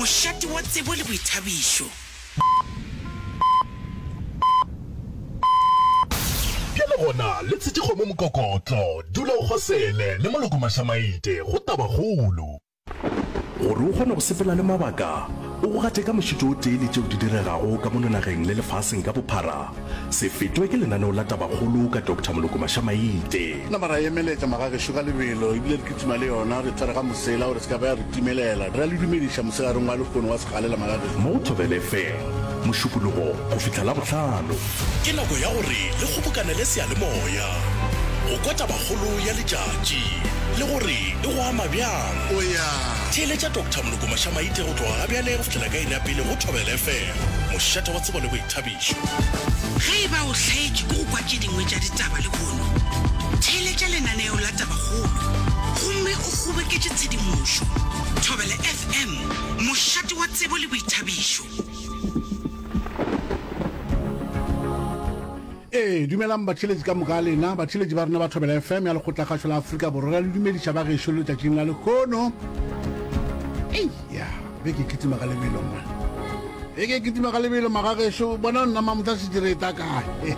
Mošate wa tsebo le boithabišo. Bjale gona le tshetše kgomo mokokotlo, dula o kgosele le moloko mašamaite go tabakgolo. Gore o kgone go sepela le mabaka, o go gate ka mošito o tee le tšeo di diregago ka mono nageng le lefaseng ka bophara, se fetwe ke lenaneo la Tabakgolo ka Doctor Moloko Mašamaite. Nama ra emeletša magagešo ka lebelo, ebile re kitima le yona, re tshwere ga mosela gore se ka ba ya re timelela. Re a le dumediša mosegareng wa lehono wa segalela magagešo. Mo go Thobela FM, Mošupologo go fihla Labohlano. Ke nako ya gore le kgobokanele seyalemoya go kwa tabakgolo ya letšatši le gore e go ama bjang. Theeletša Doctor Moloko Mašamaite go tloga gabjale go fihlela ka iri ya pele go Thobela FM, mošate wa tsebo le boithabišo. Ge e ba o hlaetšwe ke go kwa tše dingwe tša ditaba lehono, theeletša lenaneo la Tabakgolo gomme o kgoboketše tshedimošo. Thobela FM, mošate wa tsebo le boithabišo. Ee, dumelang batheeletši ka moka lena, batheeletši ba rena ba Thobela FM ya Lekgotlakgašo la Afrika Borwa. Re a le dumediša ba gešo letšatšing la lehono. Ei, ya, beke e kitima ka lebelo man. Beke e kitima ka lebelo magagešo, bona nna mamotla šetše re eta kae.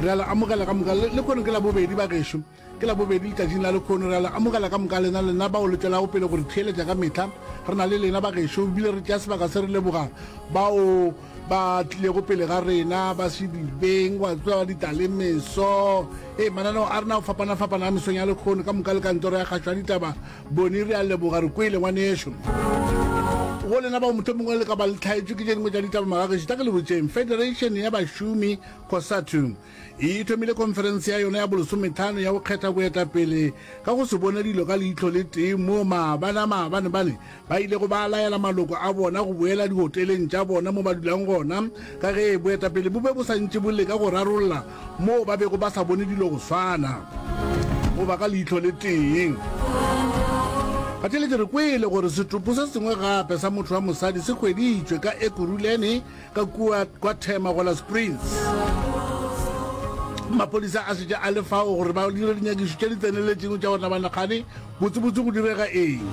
Re a le amogela ka moka, lehono ke Labobedi ba gešo. Ke Labobedi letšatšing la lekhono. Re a le amogela ka moka lena, lena bao le tšwelago pele go re theeletša ka mehla. Re na le lena bagešo, ebile re tšea sebaka se re leboga bao ba tlilego pele ga rena, ba Sedibeng, wa tseba, Ditalemeso. Ee, mananeo a rena a go fapana-fapana a mesong ya lekhono, ka moka le kantoro ya kgašo ya ditaba. Boni, re a leboga, re kwele, ngwanešo. Go lena bao mohlomongwe le ka ba le hlaetšwe ke tše dingwe tša ditaba magagešo, tla ke le botšeng, Federation ya Bašomi, COSATU, e thomile khonferense ya yona ya bolesometlhano ya go kgetha boetapele ka go se bone dilo ka leihlo le tee moo maabane a maabanebane ba ilego ba laela maloko a bona go boela dihoteleng tša bona mo ba dulang gona ka ge boetapele bo be bo sa ntše bo leka go rarolla moo ba bego ba sa bone dilo go swana goba ka leihlo le tee. Batheeletši re kwele gore setopo se sengwe gape sa motho wa mosadi se hweditšwe ka Ekurhuleni Ka kua kwa Thema go la Springs, maphodisa a šetše a le fao gore ba dire dinyakišo tše di tseneletšego tša gore nabanakgane botsebotse go direga eng.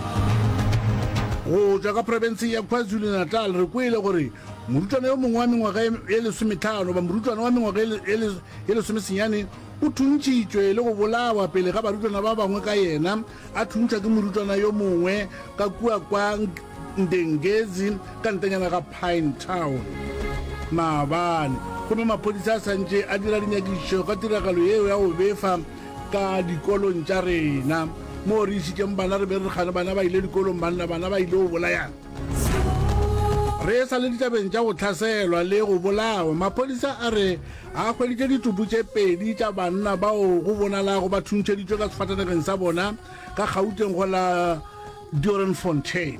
Go tšwa ka profenseng ya KwaZulu-Natal re kwele gore morutwana yo mongwe wa mengwaga ye lesometlhano goba morutwana wa mengwaga ye lesomesenyane o thuntšhitšwe le go bolawa pele ga barutwana ba bangwe ka yena a thuntšhwa ke morutwana yo mongwe ka kua kwa Ndengezi ka ntanyana ga Pine Town maabane gomme maphodisa a santše a dira dinyakišišo ka tiragalo yeo ya go befa ka dikolong tša rena moo re išitšeng bana re be re kgane bana ba ile dikolong banna bana ba ile go bolayana re sa le ditabeng tša go hlaselwa le go bolawa maphodisa a re a hweditše ditopo tše pedi tša banna bao go bonalago ba thuntšheditšwe ka sefatanageng sa bona ka Gauteng go la Doornfontein.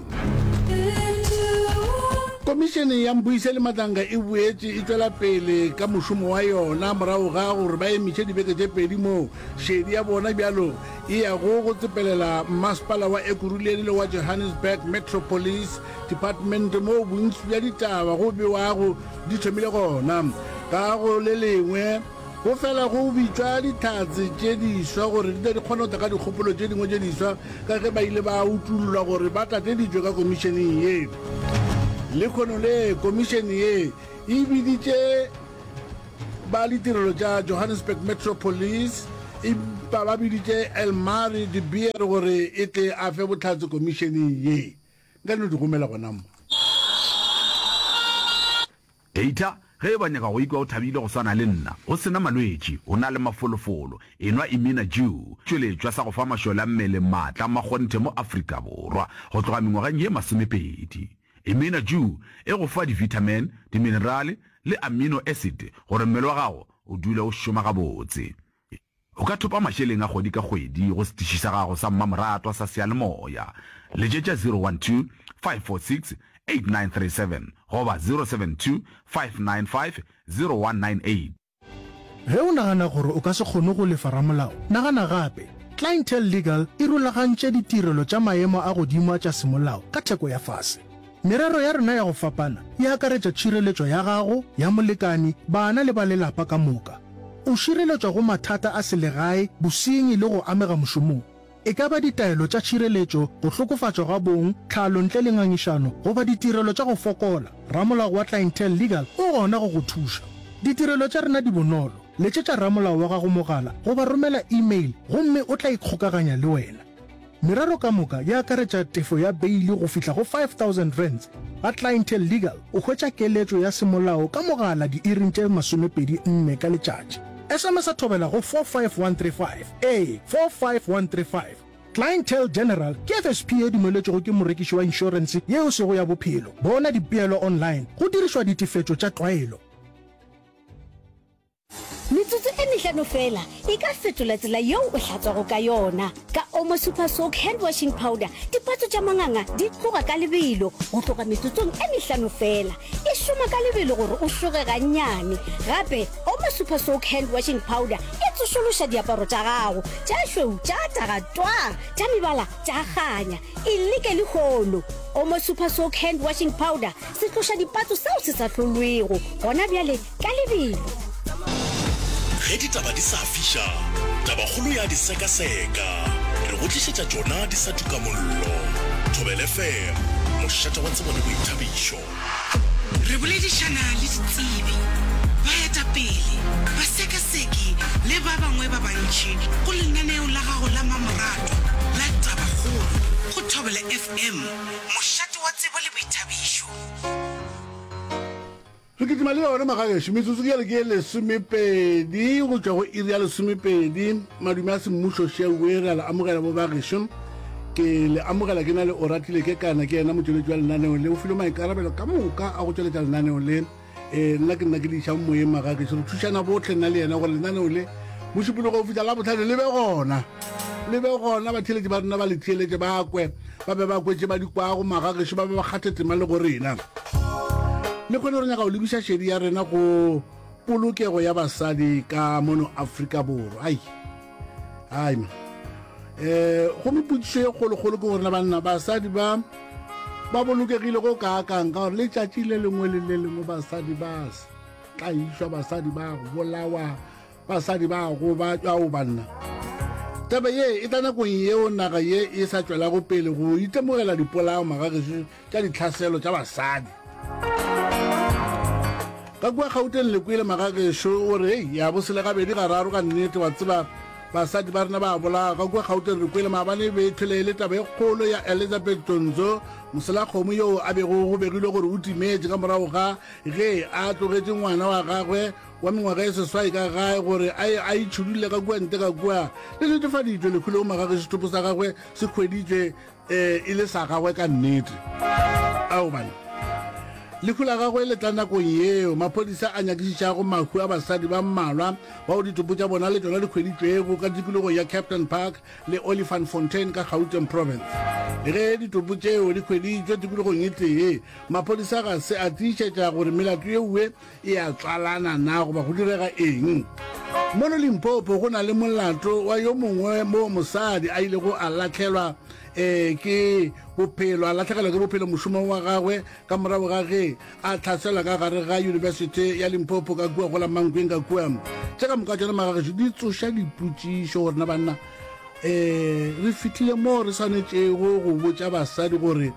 Komišene ya Mbuyiseli Madlanga e boetše e tšwela pele ka mošomo wa yona morago ga gore ba emiše dibeke tše pedi moo šedi ya bona bjalo e yago go tsepelela mmasepala wa Ekurhuleni le wa Johannesburg Metro Police Department moo bontši bja ditaba go bewago di thomile gona. Ka go le lengwe, Go fela go bitšwa Dihlatse tše diswa gore di tle di kgone go tla ka dikgopolo tše dingwe tše diswa ka ge ba ile ba utollwa gore ba tlateditšwe ka komišeneng ye. Lehono le, komišene ye e biditše ba ditirelo tša Johannesburg Metro Police empa ba biditše Elmarie de Beer gore e tle a fe bohlatse komišeneng ye. Nka no di romela gona mo. Data, Ge e ba nyaka go ikwa o thabile go swana le nna, o se na malwetši, o na le mafolofolo, enwa Imina Dew, tšweletšwa sa go fa mašole a mmele maatla a makgonthe mo Afrika Borwa go tloga mengwageng ye masomepedi. Imina Dew e go fa divithamene, diminerale le amino acid gore mmele wa gago o dule o šoma gabotse. O ka thopa mašeleng a kgwedi ka kgwedi go setiši sa gago sa mmamoratwa sa seyalemoya. Letšetša 012 546 8937 goba 072 595 0198. Ge o nagana gore o ka se kgone go lefa ramolao, nagana gape. Clientele Legal e rulagantše ditirelo tša maemo a godimo a tša semolao ka theko ya fase. Merero ya rena ya go fapana e akaretša tšhireletšo ya gago, ya molekani, bana le ba lelapa ka moka. O šireletšwa go mathata a selegae, bosenyi le go amega mošomong. E ka ba ditaelo tša tšhireletšo, go hlokofatšwa ga bong, tlhalo ntle le ngangišano, goba ditirelo tša go fokola, ramolao wa Clientele Legal o gona go go thuša. Ditirelo tša rena di bonolo, letšetša ramolao wa gago mogala goba romela email gomme o tla ikgokaganya le wena. Merero ka moka e akaretša tefo ya beili go fihla go R5000. Ga Clientele Legal o hwetša keletšo ya semolao ka mogala diiring tše 24 ka letšatši. SMS-a thobela go 45135, ee, 45135. Clientele General ke FSP ye dumeletšwego ke morekiši wa inšorense ye e sego ya bophelo. Bona dipeelo online go dirišwa ditefetšo tša tlwaelo. Metsotso e mehlano feela e ka fetola tsela yeo o hlatswago ka yona. Ka Omo Super Soak Hand Washing Powder, dipatso tša manganga di tloga ka lebelo go tloga metsotsong e mehlano feela. E šoma ka lebelo gore o šoge gannyane. Gape, Omo Super Soak Hand Washing Powder e tsošološa diaparo tša gago, tša šweu tša taga twaa, tša mebala tša kganya. E leke lehono! Omo Super Soak Hand Washing Powder, setloša dipatso seo se sa hlolwego gona bjale. Ka lebelo. Ge ditaba di sa fiša, tabakgolo ya di sekaseka. Re go tlišetša tšona di sa tuka mollo. Thobela FM, mošate wa tsebo le boithabišo. Re boledišana le ditsebi, baetapele, basekaseki le ba bangwe ba bantši go lenaneo la gago la mmamoratwa la Tabakgolo go Thobela FM, mošate wa tsebo le boithabišo. Re kitima le yona magagešo, metsotso ke yale ke ye lesomepedi go tšwa go iri ya lesomepedi. Madume a semmušo šewe, re a le amogela bo bagešo. Ke le amogela ke na le Oratile Kekana, ke yena motšweletši wa lenaneo le, o filwe maikarabelo ka moka a go tšweletša lenaneo le. E, nna ke nna ke le išang moyeng magagešo, re thušana bohle nna le yena gore lenaneo le Mošupologo go fihla Labohlano le be gona, le be gona, batheeletši ba rena ba le theeletše, ba kwe, ba be ba kwetše ba di kwago, magagešo ba be ba kgathe tema le go rena. Le kgone re nyaka go lebiša šedi ya rena go polokego ya basadi ka mono Afrika Borwa. Ai, ai ma. Eh, gomme potšišo ye kgolokgolo ke gore na banna basadi ba ba bolokegile go kaakang, ka gore letšatši le lengwe le le lengwe basadi ba tlaišwa, basadi ba bolawa, Basadi ba gobatšwa ao banna. Taba ye e tla nakong yeo naga ye e sa tšwelago pele go itemogela dipolao magagešo tša ditlhaselo tša basadi. Ka kua Gauteng le kwele magagešo o re hei ya bosele gabedi gararo ka nnete wa tseba basadi ba rena ba bolawa ka kua Gauteng re kwele maabane e be e tlhole e le taba e kgolo ya Elizabeth Donzo moselakgomo yoo a bego go begilwe gore o timetše ka morago ga ge a tlogetše ngwana wa gagwe wa mengwaga e seswai ka gae gore a ye a itšhudulle ka kua ntle ka kua. Le netefaditšwe lehu leo magage setopo sa gagwe se hweditšwe um e le sa gagwe ka nnete. Ao bana. Lehu la gagwe le tla nakong yeo maphodisa a nyakišišago mahu a basadi ba mmalwa bao ditopo tša bona le tšona di hweditšwego ka tikologong ya Kempton Park le Olifantsfontein ka Gauteng Province. Le ge ditopo tšeo di hweditšwe tikologong e tee, maphodisa ga se a tiišetša gore melato yeoe e a tswalana na goba go direga eng. Mono Limpopo go na le molato wa yo mongwe moo mosadi a ilego a lahlelwa um ke bophelo, a lahlegelwa ke bophelo mošomong wa gagwe ka morago ga ge a hlaselwa ka gare ga Yunibesithi ya Limpopo ka kua go la Mankweng ka kua. Tše ka moka tšona magagešo di tsoša dipotšišo gore na banna um re fihlile moo re swanetšego go botša basadi gore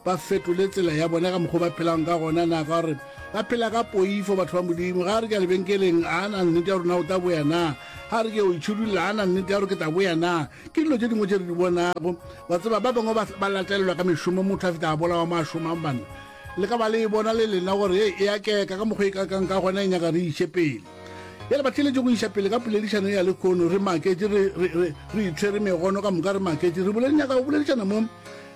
ba fetole tsela ya bona ka mokgwa ba phelang ka gona na, ka gore ba phela ka poifo batho ba Modimo. Ga re ke ya lebenkeleng, a na nnete ya gore na o tla boya na? Ga re ke o itšhidulla, a na nnete ya gore ke tla boya na? Ke dilo tše dingwe tše re di bonago. Wa tseba, ba bangwe ba latelelwa ka mešomo, motho a fihla a bolawa mo a šomang. Banna, le ka ba le e bona le lena gore hei, e a keka ka mokgwa e kakang ka gona, e nyaka re iše pele. Bjale ba theeletše go iša pele ka poledišano ya lehono, re maketše, re, re, re, re itshwere megono ka moka, re maketše, re boledi nyaka go boledišana mo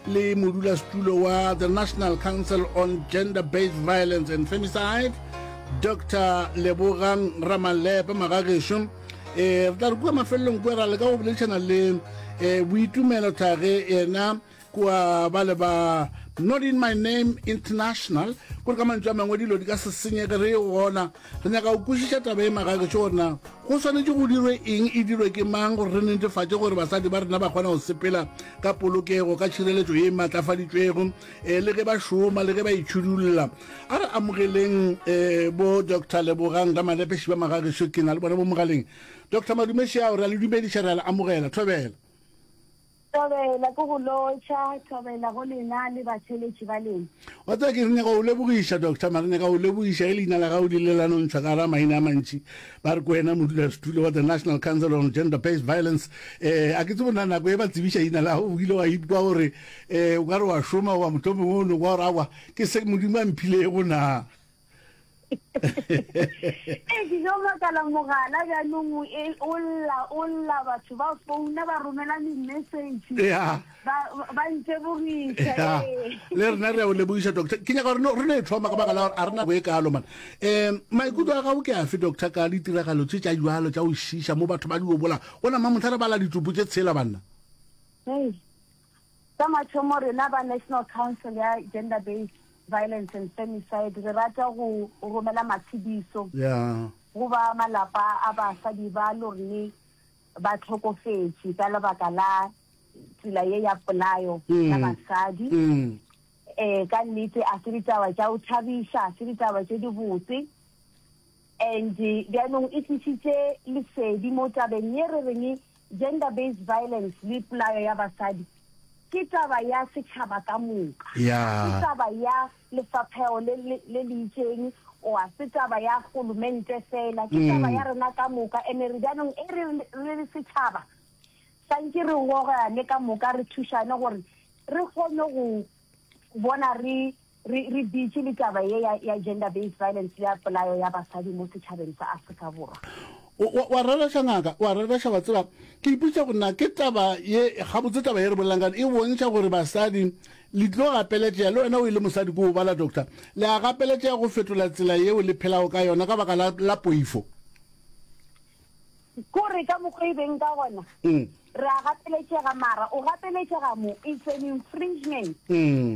le modulasetulo wa the National Council on Gender-Based Violence and Femicide, Doctor Lebogang Ramalepe Magagešo. Eh, re tla re kua mafelelong kua ra leka go boledišana le eh, Boitumelo Thage yena kua ba le ba Not In My Name International, kore ka mantšu a mangwe dilo di ka se senyege re e gona. Re nyaka go kwešiša taba ye magagešo gore na go swanetše go dirwe eng, e dirwe ke mang gore re netefatše gore basadi ba rena ba kgona go sepela ka polokego, ka tšhireletšo ye e matlafaditšwego eh, le ge ba šoma le ge ba itšhudulla. A re amogeleng eh, bo Doctor Lebogang Ramalepe Šiba magagešo, ke na le bona bo mogaleng. Doctor Madume Šiao, re a le dumediša, re a le amogela. Thobela. Thobela, ke go lotšha, thobela go lena le batheeletši ba lena. Wa tseba ke re nyaka go lebogiša Doctor, mara nyaka go lebogiša ge leina la gago le ile la no ntšhwa ka gara maina a mantši. Ba re ke wena modulasetulo wa the National Council on Gender Based Violence. Eh, a ke tsebe na nako e ba tsebiša leina la gago o ile wa ikwa gore eh o ka re wa šoma goba mohlomongwe o no kwa gore aowa ke se Modimo a mphilego na. Ee, ke tlo makala mogala bjanong e, o lla o lla batho ba founa ba romela di-message ya ba ba ntebogiša ya ee. le rena re a o lebogiša doctor ke nyaka gore no- re no e thoma ka baka la gore a re nako e kalo man um maikutlo a gago ke afe doctor ka ditiragalo tše tša jalo tša go šiša mo batho ba di obola gona mamotlha re bala ditopo tše tshela banna Hei. Sa mathomo rena ba National Council ya Gender Based Violence and Femicide re rata go romela matshediso go ba malapa a basadi ba lorne ba hlokofetše ka lebaka la tsela ye ya polayo ya basadi. Ka nnete a se ditaba tša go thabiša, a se ditaba tše dibotse and bjanong e tlišitše lesedi mo tabeng ye re reng Gender based violence le polayo ya basadi ke taba ya setšhaba ka moka. Ga se taba ya lefapheo le le le itšeng or ga se taba ya golomente fela, ke taba ya rena ka moka. Ene re bjanong e re re le setšhaba santše re gogane ka moka re thušane gore re kgone go bona re Re, re bitše le taba ye ya, ya gender based violence le ya polayo ya basadi mo setšhabeng sa Afrika Borwa. O, wa, wa rereša ngaka, wa rereša, wa tseba, ke ipotšiša gore na ke taba ye, gabotse taba ye re bolelang ka yona e bontšha gore basadi le tlo gapeletšega, le wena o e le mosadi ke o bala doctor, le a gapeletšega go fetola tsela yeo le phelago ka yona ka baka la, la poifo. Kore ka mokgwa e beng ka gona, re a gapeletšega, mara o gapeletšega mo, it's an infringement,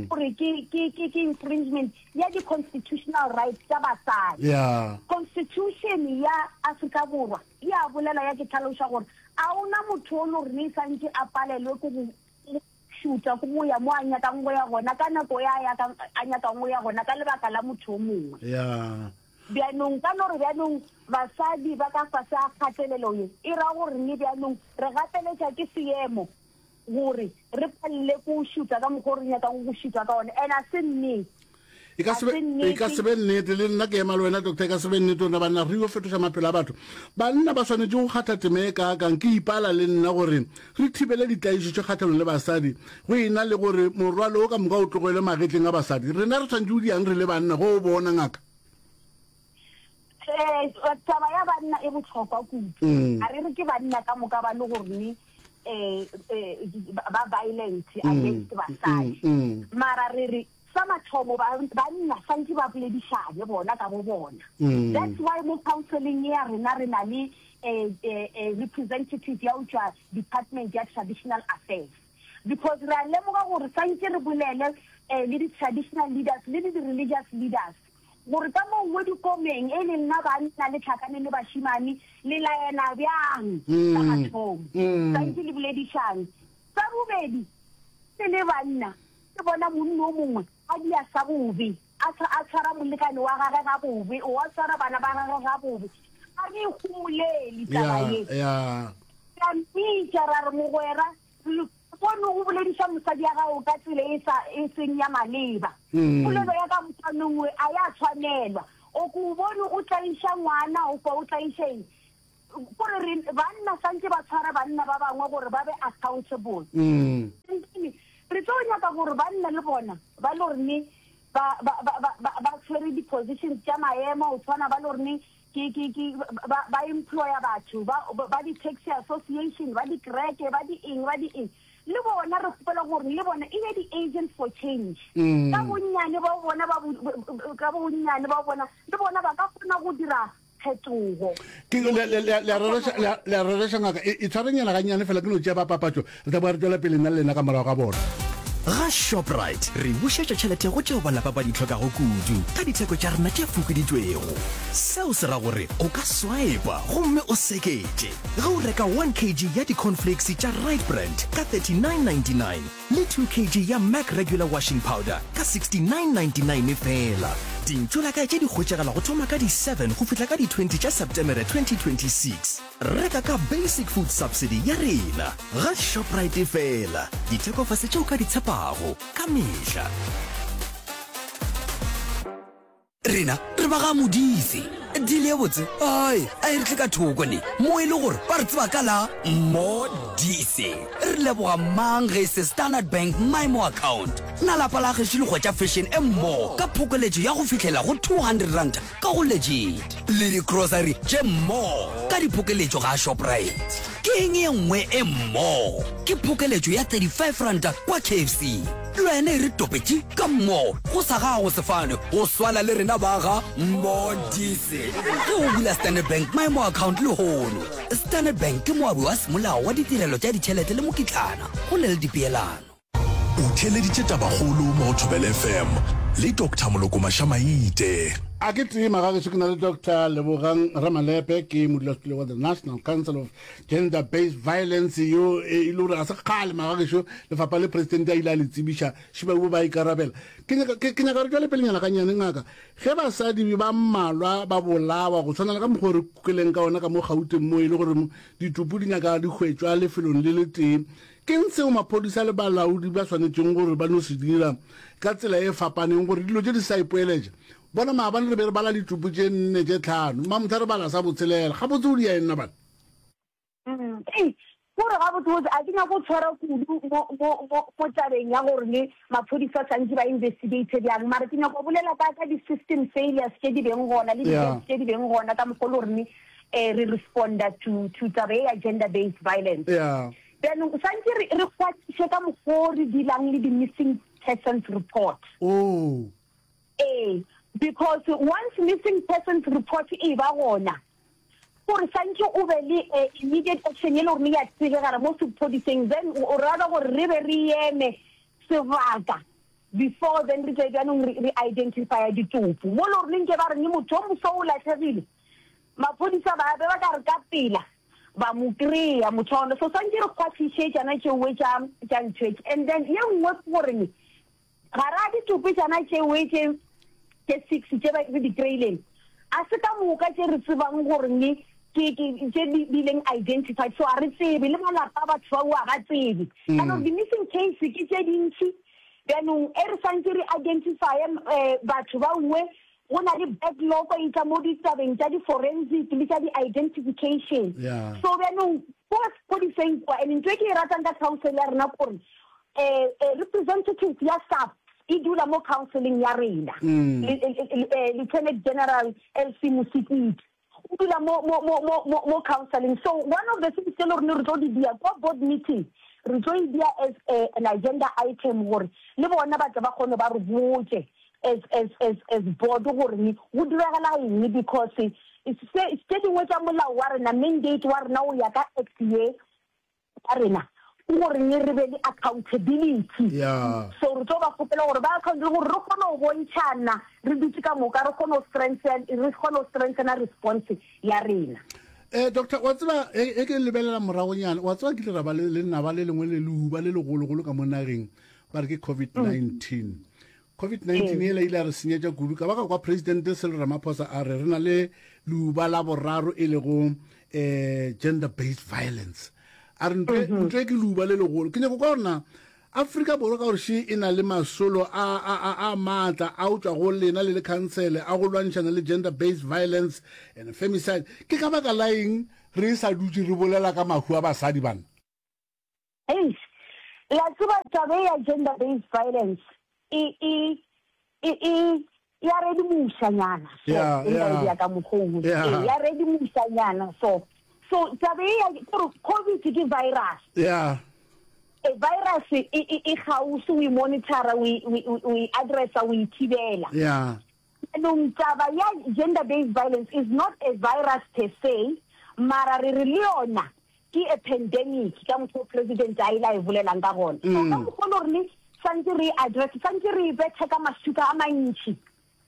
gore ke, ke, ke, ke infringement ya di-constitutional rights tša basadi. Yeah. Constitution ya Afrika Borwa e a bolela ya ke tlhaloša gore a ona motho o le gore ne santše a palelwe ke go šutha ke go ya mo a nyakang go ya gona ka nako ya a a nyakang go ya gona ka lebaka la motho o mongwe. Yeah. Bjanong, ka no re bjanong basadi ba ka fase ga kgatelelo ye, e ra gore le bjanong re gapeletša ke seemo gore re palele ke go šutha ka mokgwa o re nyakang go šutha ka ona, and a se nnete. E ka A se be, se e ka nnete. se be nnete. Le nna ke ema le wena, Doctor, e ka se be nnete gore banna re yo fetoša maphelo a batho. Banna ba swanetše go kgatha tema e kaakang? Ke ipala le nna gore re thibele ditlaišo tše kgahlanong le basadi go e na le gore morwalo wo ka moka o tlogelwe magetleng a basadi. Rena re swanetše go diang re le banna ge o bona, ngaka? Eh, taba ya banna e bohlokwa kudu. Mm. A re re ke banna ka moka ba le gore ne eh, eh, ba violent against basadi. Mm, mm. Mara re re sa mathomo banna santse ba boledišane bona ka bo bona. Mm. That's why mo counseling ya rena re na le eh, eh, eh, representative ya go tšwa department ya traditional affairs. Because re a lemoga gore santse re bolele eh, le di-traditional leaders le di-religious leaders gore ka mo nngwe dikomeng e le nna banna le tlhakane le bašimane le laena bjang sa mathomo santse le boledišane. Sa bobedi, le le banna le bona monna o mongwe a dia sa bobe, a a tshwara molekane wa gage ga bobe, o a tshwara bana ba gage ga bobe, a re ikgomolele taba ye. Ra mmitša ra re, Mogwera, Re bone o bolediša mosadi ya gago ka tsela e sa e seng ya maleba. Polelo ya ka mokgwanong we a ya tshwanelwa. O ko o bone o tlaiša ngwana o kwa o tlaiša eng? Kore re banna santse ba tshwara banna ba bangwe gore ba be accountable. Then re tlo nyaka gore banna le bona ba le gore ne ba ba ba ba ba tshwere di-positions tša maemo go tshwana ba le gore ne Ke, ke, ke, ba, ba employa batho, ba, ba di-taxi association, ba dikereke, ba di eng, ba di eng. Le bona re kgopela gore le bona e be di-agents for change. Ka bonnyane ba bona, ba, ka bonnyane ba bona, le bona ba ka kgona go dira phetogo. Ke, le, le, le, le a rereša, le a, le a rereša ngaka. E, e tshwarenyana gannyane fela, ke no tšea ba papatšo. Re tla boa re tšwela pele nna le lena ka morago ga bona. Ga Shoprite, re bušetša tšhelete go tšeo ba lapa ba di hlokago kudu ka ditheko tša rena tše fokoditšwego. Seo se ra gore o ka swipa gomme o seketše ge o reka 1 kg ya di-cornflakes tša Rite Brand ka 39.99 le 2 kg ya Mac Regular Washing Powder ka 69.99 feela. Dintšolakae tše di hwetšagala go thoma ka di 7 go fihla ka di 20 tša Septemere 2026. Reka ka Basic Food Subsidy ya rena ga Shoprite fela. Dithekofase tše o ka di tshepago ka mehla. Rena re ba ga Modise. Deal ye botse ai a e re tle ka thoko ne mo e le gore ba re tseba ka la Modise. Re leboga mang ge e se Standard Bank MyMo account. Na lapa la gešo le hwetša fashion e mmo ka phokoletšo ya go fihlela go R200 ka go Legit le di-grocery tše mmo ka diphokeletšo ga Shoprite. Ke eng ye nngwe e mmo? Ke phokeletšo ya R35 kwa KFC. Le wena e re topetše ka mo go sa gago sefane go swana le rena ba ga Modise. Ge o bula Standard Bank Maemo Account lehono, Standard Bank ke moabi wa semolao wa ditirelo tša ditšhelete le mokitlana go le le dipeelano. O theeleditše Tabakgolo mo go Thobela FM le Doctor Moloko Mašamaite. A ke tema ga gešo ke na le Doctor Lebogang Ramalepe, ke modulasetulo wa the National Council of Gender Based Violence yo e le gore ga se kgale magagešo lefapha le presidente a ile a le tsebiša šibaubo ba ikarabela. Ke nyaka ke nyaka re tšwele pelenyana gannyane ngaka, ge basadi ba mmalwa ba bolawa go tshwana le ka mokgwa o re kweleng ka ona ka mo Gauteng mo e le gore ditopo di nyaka di hwetšwa lefelong le letee, ke'ng seo maphodisa le balaodi ba swanetšeng gore ba no se dira ka tsela e fapaneng gore dilo tše di sa ipoeletša? Bona maabane re be re bala ditopo tše nne tše tlhano, mamohla re bala sa botshelela. Gabotse o dia eng nna bana? Mm, ei, kore gabotsebotse a ke nyako go tshwara kudu mo, mo, mo, mo tabeng ya gore ne maphodisa santse ba investigate bjang mara ke nyako bolela ka ka di-system failures tše di beng gona le di-gaps tše di beng gona ka mokgwa le gore ne um re responda to, to taba e ya gender based violence. Yeah. Bjanong santse re, re kgwathiše ka mokgwa o re dealang le di-missing persons report. Oh. Ee, because once missing persons report e ba gona, gore santše o be le eh, immediate action e le gore ya tsebegala mo sephodiseng, then o rather gore re be re eme sebaka before then re tle bjanong re, re identifya ditopo. Mo le gore nke ba re ne motho o moso o latlhegile, maphodisa ba be ba ka re ka pela ba mo kry-a motho wa gona. So santše re kgwathiše tšana tšeoe tša tša ntho and then ye nngwe ke gore ne Gara ditopo tšana tšeoe tše tše six tše ba re di kry-ileng, a se ka moka tše re tsebang gore ne ke ke tše di bileng identified, so a re tsebe, le malapa a batho bao a ba tsebe. Ka gore di-missing case ke tše dintši, bjanong e re santše re identifye batho baoe, go na le backlog e tla mo ditabeng tša di-forensic le tša di-identification. So bjanong ko sephodiseng kwa, and ntho e ke e ratang ka council ya rena kore um representative ya SAPS e dula mo councileng ya rena, Lieutenant General LC Mosikiti o dula mo mo mo mo mo mo counseling. So one of the things tse le gore re tlo di dia kwa board meeting, re tlo e dia as a, an agenda item gore le bona ba tle ba kgone ba re botse as as as as board gore ne go diragala eng, because se tše dingwe tša molao wa rena, mandate wa rena o ya ka act ye ya rena ke gore ne re be le accountability. Yeah. So re tlo ba kgopela gore ba account gore re kgone go bontšhana re dutse ka moka, re kgone go strengthen, re kgone go strengthena response ya rena. Eh, doctor, wa tseba e, e ke lebelela moragonyana, wa tseba kile ra ba le lenaba le lengwe le leuba le legologolo ka mo nageng, ba re ke COVID-19. COVID-19 ela ile ya re senyetša kudu, ka ba ka kwa Presidente Cyril Ramaphosa a re re na le leuba la boraro e lego eh, gender based violence. A re ntho e- ntho e ke leuba le legolo. Ke nyako kwa gore na Afrika Borwa ka gore še e na le masolo a a a a maatla a o tšwa go lena le le khansele a go lwantšhana le gender based violence and femicide, ke ka baka la eng re sa dutše re bolela ka mahu a basadi bana? Eish, la tseba taba e ya gender based violence e e e e ya redimošanyana so, Yeah, e nka e yeah. bea ka mokgwa o. Yeah. Ee, ya redimošanyana so. So taba e ya gore COVID ke virus. Yeah. E virus e e e kgauswi o e monitora, o e o e addressa, o e thibela. Yeah. Jaanong taba ya gender based violence is not a virus per se, mara re re le yona ke a pandemic ka mokgwa o president a ile a e bolelang ka gona. So ka mokgwa o le gore ne santse re e address, santse re e bethe ka maswika a mantši.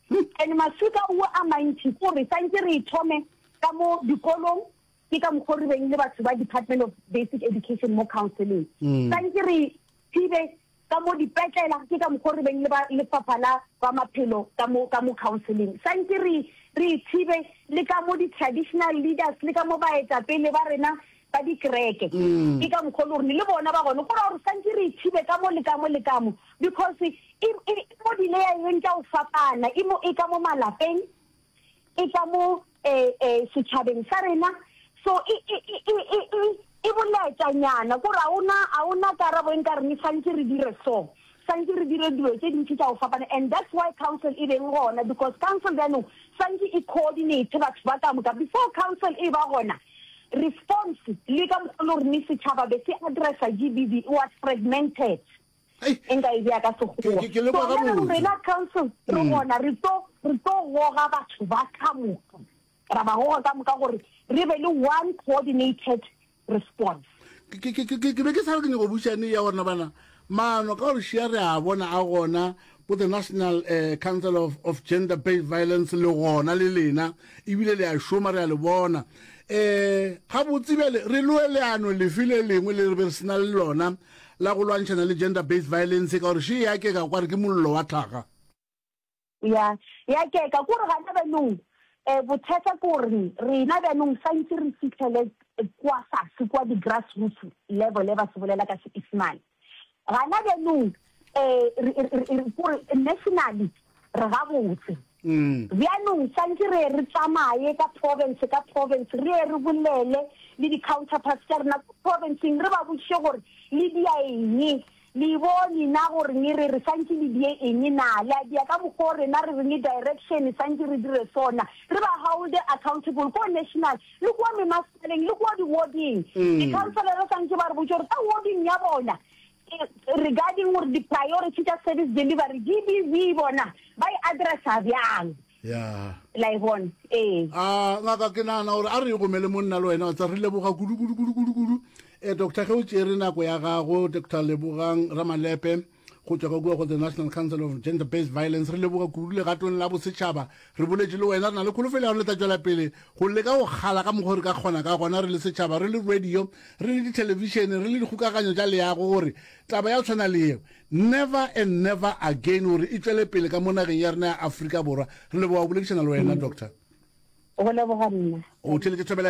And maswika ao a mantši ke gore santse re e thome ka mo dikolong, ke ka mokgwa o re beng le batho ba Department of Basic Education mo counseling. Santse re thibe. Ka mo dipetlela, ke ka mokgo re beng le ba lefapha la ba maphelo ka mo, ka mo counseling. Santše re, re ithibe le ka mo di-traditional leaders le ka mo baetapele ba rena ba dikereke. Ke ka mokgo le gore le bona ba gona. Go ra gore santše re ithibe ka mo le ka mo le ka mo because e, e, e mo di-layer-eng tša go fapana. E mo, e ka mo malapeng, e ka mo eh, eh, setšhabeng sa rena. So e, e, e, e, e, e, e bolaetšanyana kore a ona, a ona karabo e nka reng santše re dire so, santše re dire dilo tše dintši tša go fapana. And that's why council e beng gona because council bjanong santše e coordinate batho ba ka moka. Before council e ba gona, response le ka mokgwa le gore ne setšhaba be se addressa GBV it was fragmented. E nka e bea ka Sekgowa. Ke, ke, ke le kwa So bjale gabotse. rena council re gona re tlo, re tlo goga batho ba ka moka, ra ba goga ka moka gore re be le one coordinated response. Ke, ke, ke, ke, ke be ke sa re ke nyako bušane ya gore bana maano ka gore šia re a bona a gona bo the National eh, Council of, of Gender Based Violence le gona le lena ebile le a šoma re a le bona eh gabotse bjale re loe leano lefe le lengwe le re be re sena le lona la go lwantšhana le gender based violence ka gore še ya keka kware ke mollo wa tlhaga. Ya, ya keka. Kore gana bjanong, um bothata ke gore rena bjanong santše re fihlele kwa fase kwa di-grass roots level, ba se bolela ka Seisemane. Gana bjanong um kore nationally re gabotse. Bjanong santše re ye re tsamaye ka province ka province, re ye re bolele le di-counterparts tša rena ko provinceng, re ba botšiše gore le dia eng, le bone na gore ne re re santše le die eng na, le a dia ka mokgwa o rena re reng direction santše re dire sona, re ba holde accountable ko national le kua memasepaleng le kua di-warding. Di-councillor santše ba re botše gore ka warding ya bona regarding gore di-priority tša service delivery GBV bona ba e addressa bjang. Ya. La e bona? Ee. A ngaka ke nagana gore a re e gomele monna le wena wa tsa re leboga kudu kudu kudu kudu kudu. Eh doctor ge o tšere nako ya gago Doctor Lebogang Ramalepe go tšwa ka kua go the National Council of Gender Based Violence re leboga kudu legatong la bosetšhaba re boletše le wena re na le kholofelo ya gore le tla tšwela pele go leka go kgala ka mokgwa re ka kgona ka gona re le setšhaba re le radio re le dithelebišene re le dikgokaganyo tša leago gore taba ya tshwana le yeo never and never again gore e tšwele pele ka mo nageng ya rena ya Afrika Borwa re leboga go boledišana le wena doctor Go leboga nna. O theletše Thobela.